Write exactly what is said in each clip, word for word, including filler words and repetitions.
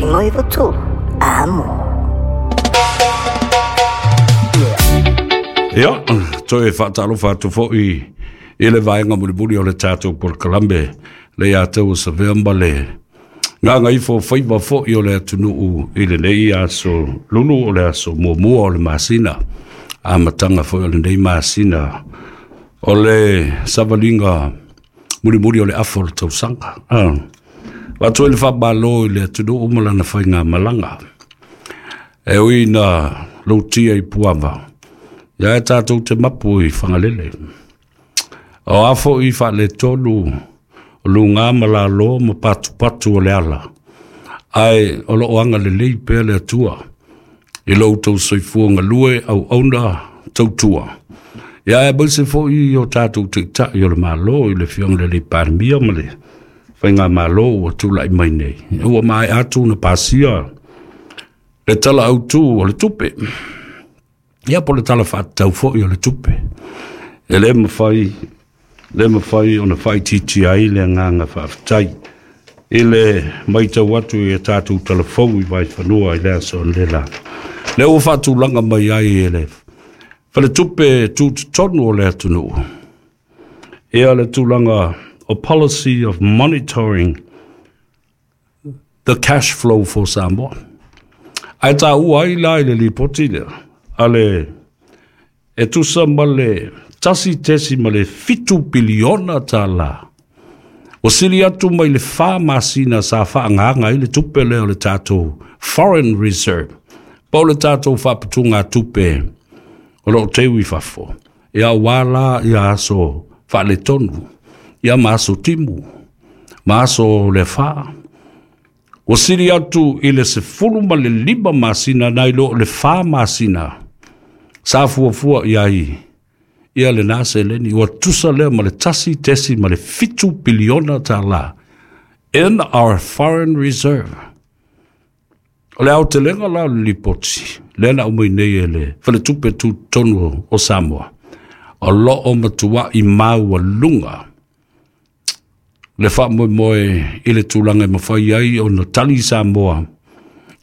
Noiva tu. Amo. Ia, toe faatalofa atu foʻi i le vaega mulimuli o le tatou polokalame le ia te ua savea ma le gagaifo faiva foʻi o le atunuu i lenei aso lulu o le aso muamua o le masina amataga foi o lenei masina o le savaliga mulimuli o le afa o le tausaga. Ah. Faatoe le faamālō i le atunuu ma lana faigamalaga e ui na loutia i puava ia e tatou te mapu i Fagalele. O a foʻi faaletolu o lugā ma lalo ma patupatu o le ala, ae o loo agalelei pea le Atua i lo outou soifua galue auauna tautua. Ia e aemaise foʻi o tatou taitai o le Mālō i le Afioga i le Alii Palemia ma le faigamālō ua tulaʻi mai nei. Ua maea atu na pasia le tala autū o le tupe. Ia po le tala faatatau foʻi o le tupe. E lē mafai lē mafai ona faaitiitia ai le agaga faafetai i le maitau atu i a tatou talafou i vaifanua i le aso analeila. Lea ua faatulaga mai ai e le faletupe tutotonu o le atunuu ia le tulaga o policy of monitoring the cash flow for Samoa. Ae taua ai la i le lipoti lea a le e tusa ma le tasi tesi ma le fitu piliona tālā. Ua sili atu mai le fa masina sa faagaaga ai le tupe lea o le tatou foreign reserve po o le tatou faaputugatupe o loo teu i fafo. Ia auā la ia aso faaletonu, ia ma aso timu, ma aso le fā. Ua sili atu i le sefulu ma le lima masina nai lo le fa masina sa fuafua i ai ia lenā seleni. Ua tusa lea ma le tasi tesi ma le fitu piliona tālā in our foreign reserve. O le aotelega la o le lipoti lea na aumai nei e le faletupe tutotonu o Samoa, o loo matuaʻi maualuga le faamoemoe i le tulaga e mafai ai ona tali Samoa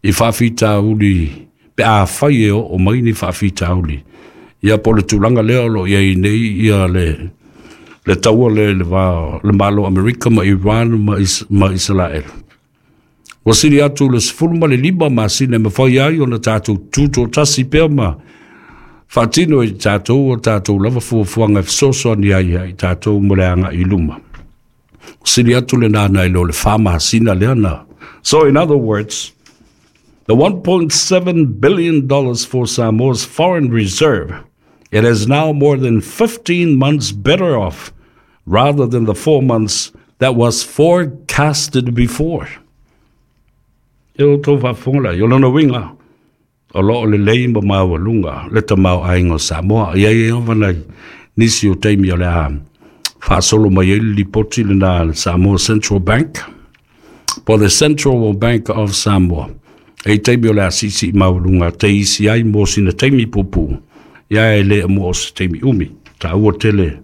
i faafitauli pe afai e oo mai ni faafitauli. Ia po o le tulaga lea o loo i ai nei ia le le taua lea i le va o le Malo o Amerika ma Iran ma, Is, ma Isalaela. Ua sili atu le sefulu ma le lima masina e mafai ai ona tatou tutoatasi pea ma faatino i tatou o tatou lava fuafuaga e fesoasoani ai ia i tatou mo le agaʻi i luma. Ua sili atu lenā nai lo le fa masina lea na. So in other words, the one point seven billion dollars for Samoa's foreign reserve, it is now more than fifteen months better off rather than the four months that was forecasted before. E o tau faafofoga lai, o lona uiga, o loo lelei ma maualuga le tamaoaiga o Samoa. Ia ia lava nai nisi o taimi o le a faasolo mai ai le lipoti lenā le Samoa Central Bank, po the Central Bank of Samoa. E i taimi o le a siisii maualuga te isi ai mo sina taimi puupuu, ia e le mo o se taimi umi. Taua tele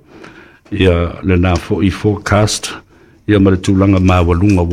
ia lenā foʻi forecast ia ma le tulaga maualuga.